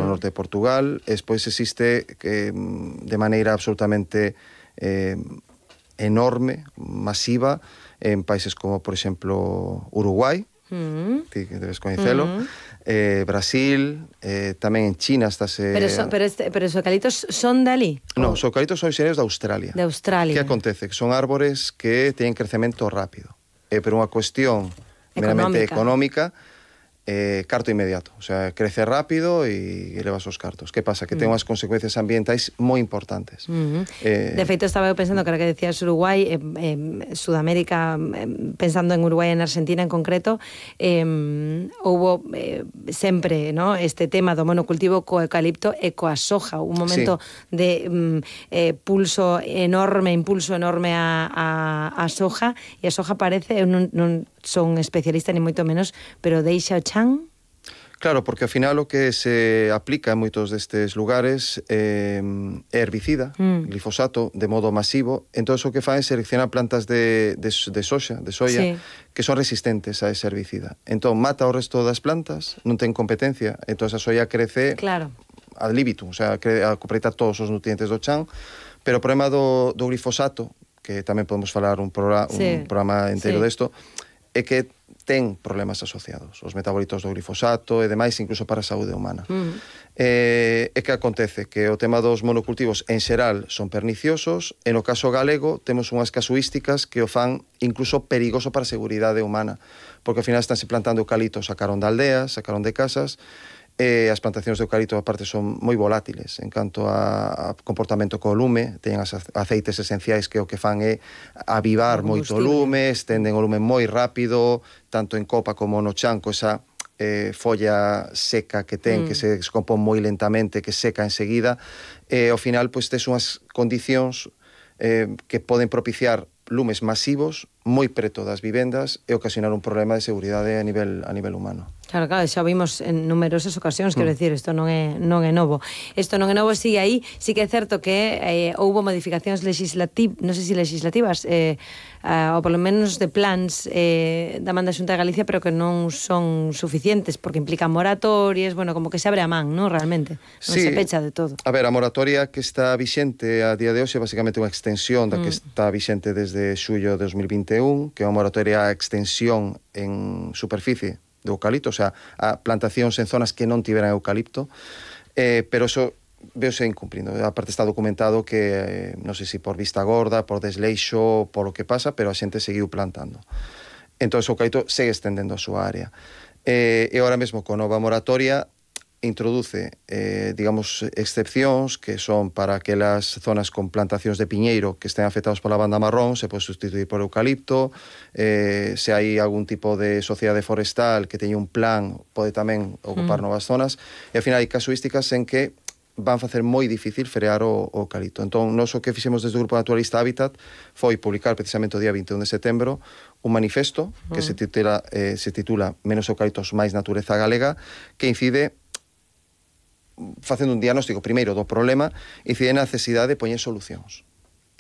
norte de Portugal, e despois existe de maneira absolutamente enorme, masiva, en países como, por exemplo, Uruguai, ti que debes coñecelo, Brasil, tamén en China estáse... Pero os eucaliptos son de ali? Non, os eucaliptos son originarios de Australia. De Australia. Que acontece? Que son árbores que teñen crecemento rápido. Pero unha cuestión meramente económica, carto inmediato. O sea, crece rápido e levas os cartos. Que pasa? Que ten unhas consecuencias ambientais moi importantes. De feito, estaba eu pensando que ahora que decías Uruguai, Sudamérica, pensando en Uruguai e en Argentina en concreto, houbo sempre, ¿no?, este tema do monocultivo co eucalipto e coa soja, un momento de impulso enorme a soja, e a soja parece, non son especialista ni moito menos, pero deixa o chan. Claro, porque ao final o que se aplica en moitos destes lugares é herbicida, glifosato, de modo masivo. Entón, o que fan é seleccionar plantas de soja, que son resistentes a ese herbicida. Entón, mata o resto das plantas, non ten competencia, entón a soja crece ad libitum, o sea, aproveita todos os nutrientes do chan, pero o problema do glifosato, que tamén podemos falar un programa inteiro desto, é que ten problemas asociados, os metabolitos do glifosato e demais, incluso para a saúde humana. E que acontece? Que o tema dos monocultivos en xeral son perniciosos, e no caso galego temos unhas casuísticas que o fan incluso perigoso para a seguridade humana, porque ao final estánse plantando eucaliptos, sacaron de aldeas, sacaron de casas, e as plantacións de eucalipto aparte son moi volátiles en canto a comportamento co lume, teñen aceites esenciais que o que fan é avivar moito o lume, estenden o lume moi rápido, tanto en copa como no chan, co esa folla seca que ten, que se descompón moi lentamente, que seca enseguida, e ao final pois tes unhas condicións que poden propiciar lumes masivos moi preto das vivendas e ocasionar un problema de seguridade a nivel humano. Claro, xa vimos en numerosas ocasións, quero decir, isto non é novo. Isto non é novo, sigue aí, sí que é certo que houbo modificacións legislativas, non sei se legislativas, ou polo menos de plans da man da Xunta de Galicia, pero que non son suficientes, porque implican moratorias, bueno, como que se abre a man, non, realmente? Non se pecha de todo. A ver, a moratoria que está vixente a día de hoxe é basicamente unha extensión da que está vixente desde xullo de 2021, que é unha moratoria a extensión en superficie de eucalipto, o sea, a plantacións en zonas que non tiveran eucalipto, pero eso veose incumplindo. Aparte está documentado que, non sei se por vista gorda, por desleixo, por lo que pasa, pero a xente seguiu plantando. Entón, o eucalipto segue estendendo a súa área. E agora mesmo, con nova moratoria, introduce, digamos, excepcións que son para aquelas zonas con plantacións de piñeiro que estén afectados pola banda marrón, se pode sustituir por eucalipto, se hai algún tipo de sociedade forestal que teña un plan, pode tamén ocupar novas zonas, e ao final hai casuísticas en que van facer moi difícil frear o eucalipto. Entón, nós o que fixemos desde o Grupo Naturalista Hábitat foi publicar precisamente o día 21 de setembro un manifesto que se titula Menos eucaliptos, máis natureza galega, que incide facendo un diagnóstico primeiro do problema e incide na necesidade de poñer solucións.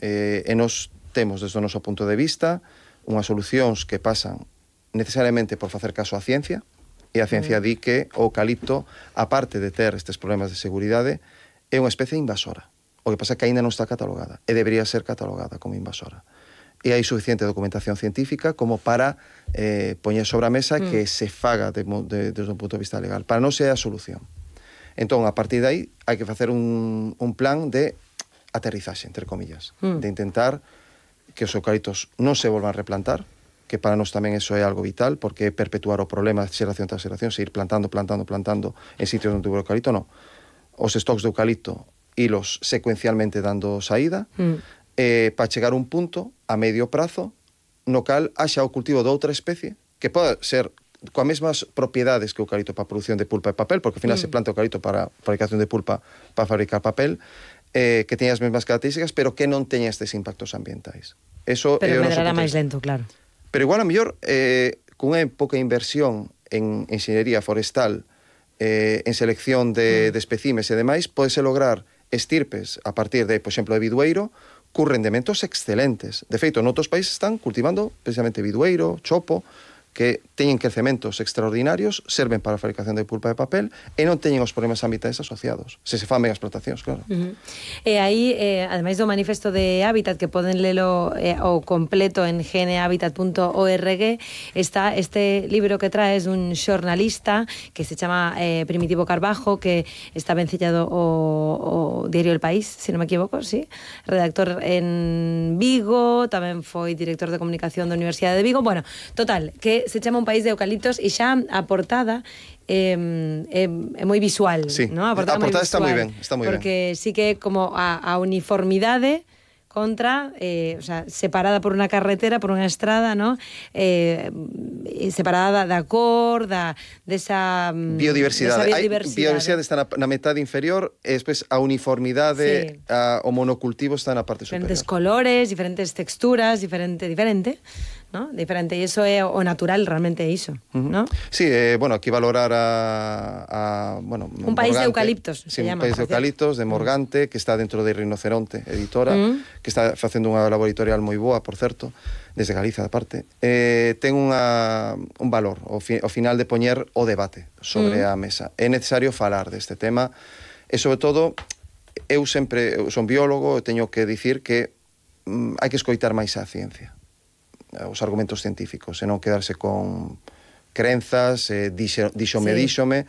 E nos temos, desde o noso punto de vista, unhas solucións que pasan necesariamente por facer caso á ciencia, e a ciencia di que o eucalipto, aparte de ter estes problemas de seguridade, é unha especie invasora. O que pasa é que aínda non está catalogada, e debería ser catalogada como invasora. E hai suficiente documentación científica como para poñer sobre a mesa que se faga desde un punto de vista legal. Para non ser a solución. Entón, a partir de aí, hai que facer un plan de aterrizaxe, entre comillas, de intentar que os eucaliptos non se volvan a replantar, que para nós tamén eso é algo vital, porque é perpetuar o problema de xeración tras xeración, seguir plantando en sitios onde tuvo eucalipto, non. Os stocks de eucalipto hilos secuencialmente dando saída, para chegar a un punto, a medio prazo, no cal haxa o cultivo de outra especie, que pode ser coas mesmas propiedades que o eucalipto para a produción de pulpa e papel, porque ao final se planta o eucalipto para a fabricación de pulpa para fabricar papel, que teña as mesmas características, pero que non teña estes impactos ambientais. Eso pero medrará máis lento, claro. Pero igual a mellor, con unha pouca inversión en enxeñería forestal, en selección de especímes e demais, podese lograr estirpes a partir de, por exemplo, de bidueiro, con rendementos excelentes. De feito, en outros países están cultivando precisamente bidueiro, chopo, que teñen crecementos extraordinarios, serven para a fabricación de pulpa de papel e non teñen os problemas ambientais asociados. Se fan ben as plantacións, claro. E aí, ademais do manifesto de Hábitat, que poden lelo o completo en gnhabitat.org, está este libro que traes dun xornalista que se chama Primitivo Carbajo, que está vencellado o diario El País, se non me equivoco, sí, redactor en Vigo, tamén foi director de comunicación da Universidade de Vigo. Bueno, total, que se chama Un país de eucaliptos e xa a portada é moi visual, sí, ¿no? A portada está moi ben, porque sí que como a uniformidade contra, o sea, separada por unha carretera, por unha estrada, ¿no? Separada da cor, desa biodiversidade. Biodiversidade está na metade inferior e despois a uniformidade, sí. O monocultivo está na parte superior. Diferentes colores, diferentes texturas, diferente, ¿no? Diferente, e iso é o natural, realmente é iso, ¿no? Sí, bueno, aquí valorar bueno, Un país de eucaliptos, sí, se llama. Un país de eucaliptos, de Morgante, que está dentro de Rinoceronte, editora, que está facendo unha laboratorial moi boa, por certo, desde Galiza, da parte. Ten un valor, ao final de poñer o debate sobre a mesa. É necesario falar deste tema, e sobre todo, eu son biólogo, e teño que dicir que hai que escoitar máis a ciencia, os argumentos científicos, e non quedarse con crenzas, díxome.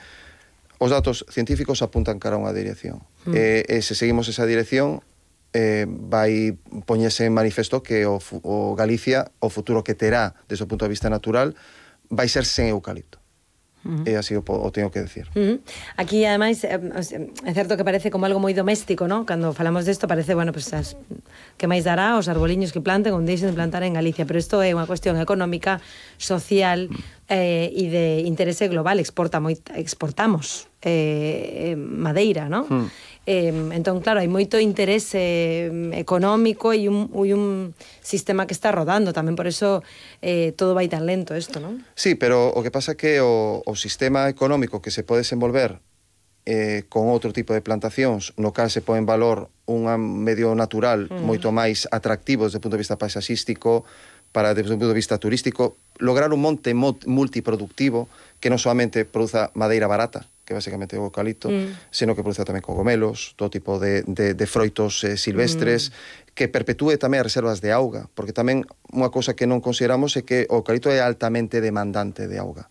Os datos científicos apuntan cara a unha dirección. E se seguimos esa dirección, vai poñerse en manifesto que o Galicia, o futuro que terá desde o punto de vista natural, vai ser sen eucalipto. E así o teño que decir. Aquí, ademais, é certo que parece como algo moi doméstico, ¿no? Cando falamos desto parece, bueno, pues, que máis dará os arboliños que planten ou deixen de plantar en Galicia, pero isto é unha cuestión económica, social e de interese global. Exportamos madeira, ¿no? Entón, claro, hai moito interese económico e un sistema que está rodando, tamén por eso todo vai tan lento isto, non? Sí, pero o que pasa é que o sistema económico que se pode desenvolver con outro tipo de plantacións, no cal se pon en valor un medio natural moito máis atractivo desde o punto de vista paisaxístico, desde o punto de vista turístico, lograr un monte multiproductivo que non solamente produza madeira barata, que basicamente é o eucalipto, sino que produza tamén cogomelos, todo tipo de froitos silvestres, que perpetúe tamén as reservas de auga, porque tamén unha cousa que non consideramos é que o eucalipto é altamente demandante de auga.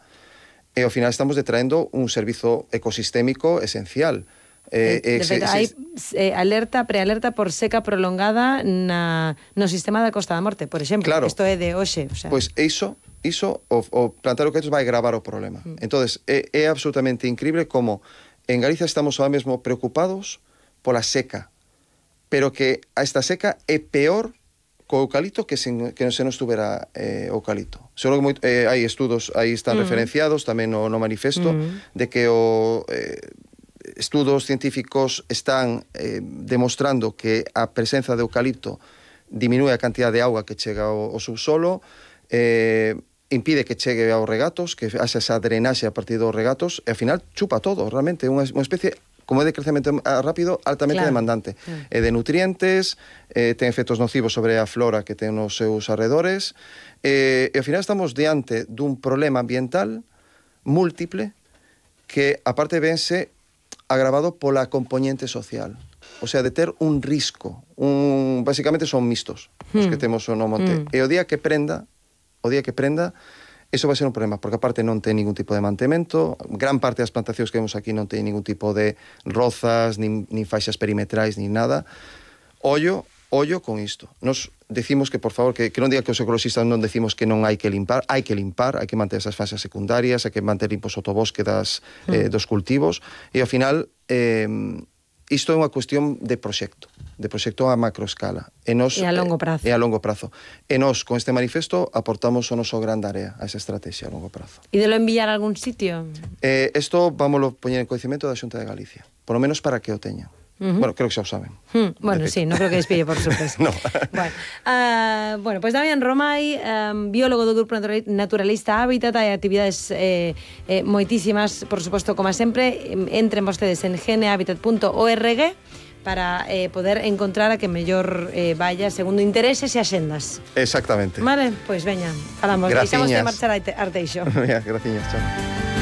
E ao final estamos detraendo un servizo ecosistémico esencial. De feito, hai prealerta por seca prolongada no sistema da Costa da Morte, por exemplo. Claro. Isto é de hoxe. O sea. Pois iso o plantar eucaliptos vai agravar o problema. Entonces, é absolutamente increíble como en Galicia estamos ahora mesmo preocupados pola seca, pero que esta seca é peor co eucalipto que se non estuvera eucalipto. Seguro que hai estudos, aí están referenciados tamén no manifesto, de que estudos científicos están demostrando que a presenza de eucalipto diminúe a cantidad de auga que chega ao subsolo, impide que chegue aos regatos, que haxa esa drenaxe a partir dos regatos, e ao final chupa todo, realmente, unha especie, como é de crecemento rápido, altamente demandante. De nutrientes, ten efectos nocivos sobre a flora que ten nos seus arredores, e ao final estamos diante dun problema ambiental múltiple que, aparte, vense agravado pola componente social. O sea, de ter un risco. Basicamente son mixtos os que temos no monte. E o día que prenda, eso vai ser un problema, porque aparte non ten ningún tipo de mantemento, gran parte das plantacións que vemos aquí non ten ningún tipo de rozas, nin faixas perimetrais, nin nada. Ollo con isto. Nos decimos que, por favor, que non diga que os ecologistas non decimos que non hai que limpar, hai que manter esas faixas secundarias, hai que manter limpos o sotobosque dos cultivos, e ao final isto é unha cuestión de proxecto a macroescala. E a longo prazo. E nós, con este manifesto, aportamos o noso gran área a esa estrategia a longo prazo. E de lo enviar a algún sitio? Isto vámoslo poñer en coñecemento da Xunta de Galicia, por lo menos para que o teñan. Bueno, creo que xa o saben. Bueno, sí, non creo que despille por sorpresa. No. Bueno, pues Damián Romay, biólogo do Grupo Naturalista Hábitat, hai actividades moitísimas, por suposto, como sempre. Entren vostedes en gnhabitat.org para poder encontrar a que mellor vaya segundo intereses e axendas. Exactamente. Vale, pois veña, falamos. Graciñas. Deixamos de marchar a Arteixo. Graciñas, chao.